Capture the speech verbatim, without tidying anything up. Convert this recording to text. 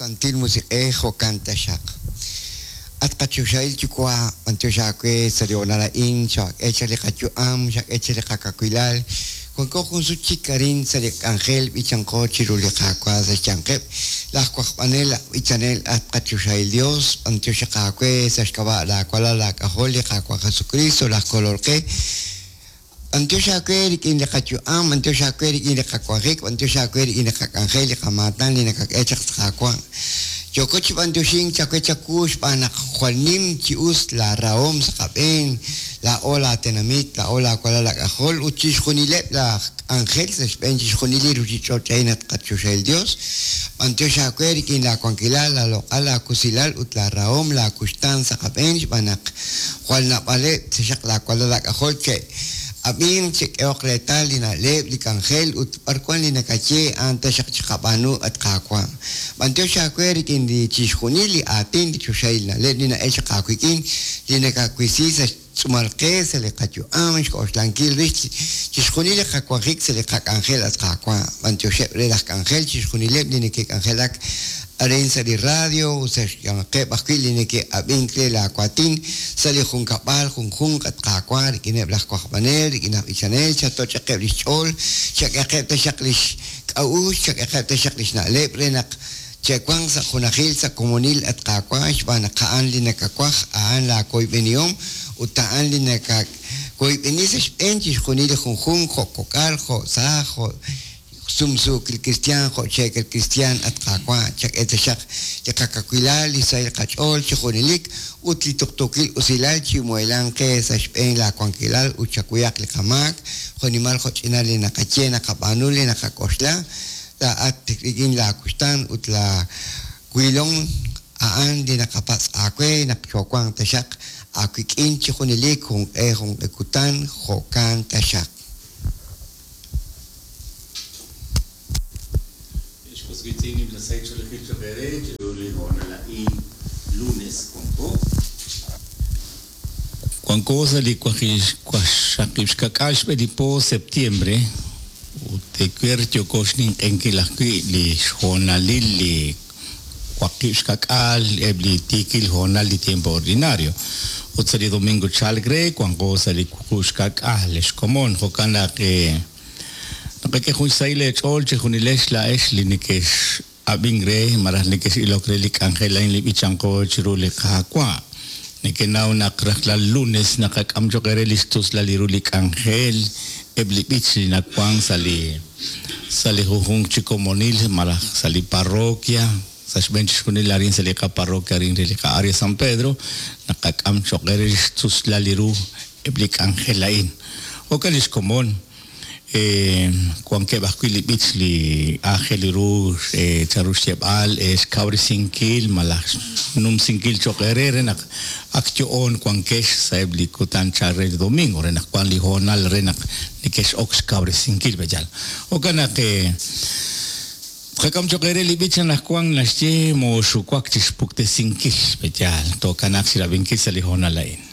Santil Musiq'ej jo'kan taxaq. At qachoxahil Yuwa', b'antiox aawe sa' li honal a'in, xak'e chaq li qayu'am, xak'e chaq li qakawilal. Wanko jun sut chik arin sa' li k'anjel b'ichanqo chiru li Qaawa' sa' xyanqeb' laj wajb'anel aj b'ichanel at qachoxahil Dios, b'antiox aawe sa' xk'ab'a' laawalal laak'ajol li Qaawa' Jesucristo laj Kolol qe. B'antiox aawe rik'in li qayu'am, b'antiox aawe rik'in li qawanjik, b'antiox aawe rik'in li qak'anjel, li qamaatan li nakak'e chaq Qaawa'. Yoko chi b'antioxink chawe chawu xb'aan naq jwal nim chi us la rahom sa' qab'een, la o la tenamit, la o la walal laak'ajol ut chixjunileb' laj k'anjel sa' xb'een chixjunil li ruuchich'och' a'in at qachoxahil Dios. B'antiox aawe rik'in laawankilal, laaloq'al, laakusilal ut laarahom, laakuxtaan sa' qab'een xb'aan naq jwal nab'aleb' sa' xaq laawalal laak'ajol che' ab'in chek'ehoq reetal li na'leb' li k'anjel ut b'arwan li nakaye a'an taxaq chiqab'aanu at Qaawa'. B'antiox aawe rik'in li chixjunil li aatin li choxahil na'leb' li na'el chaq aawik'in li nakawisi sa' xtz'uumal qe sa' li qayu'am xk'oxlankil rix chixjunil li qawanjik sa' li qak'anjel at Qaawa'. B'antioxeb' re laj k'anjel chixjunileb' li neke'k'anjelak arin sa' li radio ut sa' xyanqeb' ajwi' li neke'ab'ink re laawatin sa' li junkab'al junjunq at Qaawa' rik'ineb' laj wajb'anel, rik'in laj b'ichanel, chatoch'aqeb' li xch'ool, chak'eqeb' taxaq li xk'a'uxl, chak'eqeb' taxaq li xna'leb' re naq che'wanq sa' junajil sa' komonil at Qaawa' xb'aan naq a'an li nakawaj, a'an laakoyb'enihom ut a'an li nakakoyb'eni sa' xb'een chixjunil li junjunq jo' kok'al, jo' saaj, jo' sumsuukil cristian, jo' cheekil cristian at Qaawa', chak'e taxaq li qakawilal, li sahil qach'ool chi junelik ut li tuqtuukil usilal chi muhelan qe sa' xb'een laawankilal ut chakuyaq li qamaak, jo'nimal jo'ch'inal li naqaye naqab'aanu li naqak'oxla, laa'at rik'in laakuxtaan ut laawilom a'an li naqapatz' aawe naq chowanq taxaq aawik'in chi junelik junq'e junq'e kutan jo'kan taxaq. Wanko sa' li waqxaqib' xka'k'aal xb'e li po septiembre ut ewer yoko xninq'enkil ajwi' li xhoonalil li waqib' xka'k'aal eb' li tiikil hoonal li tiempo ordinario ut sa' li domingo chalk re wanko sa' li wuqub' xka'k'aal xkomon jo'kan naq naqak'e jun xsahil eech'ool chixjunilex laa'ex li nekex ab'ink re malaj nekex ilok re li k'anjel a'in li b'ichanqo chiru li Qaawa'. Nekenaw naq rajlal lunes naqak'am choq' re li xtuslal li ru li k'anjel eb' li b'ich li nawank sa' li sa' li junjunq chi komonil malaj sa' li parroquia sa' xb'een chixjunil arin sa' li qaparroquia arin re li qa'área San Pedro naqak'am choq' re li xtuslal li ru eb' li k'anjel a'in. Jo'kan li xkomon wankeb' ajwi' li b'ich li aajel ru chanru xyeb'al xkawresinkil malaj xnumsinkil choq' re re naq ak yo'on wankex sa' eb' li kutan chal re li domingo re naq wan li hoonal re naq nekex ok xkawresinkil b'eyal. Jo'kan naq qak'am choq' re li b'ich anaqwan naxye mooxuwak chi xpuktesinkil b'eyal to'kanaq xirab'inkil sa' li hoonal a'in.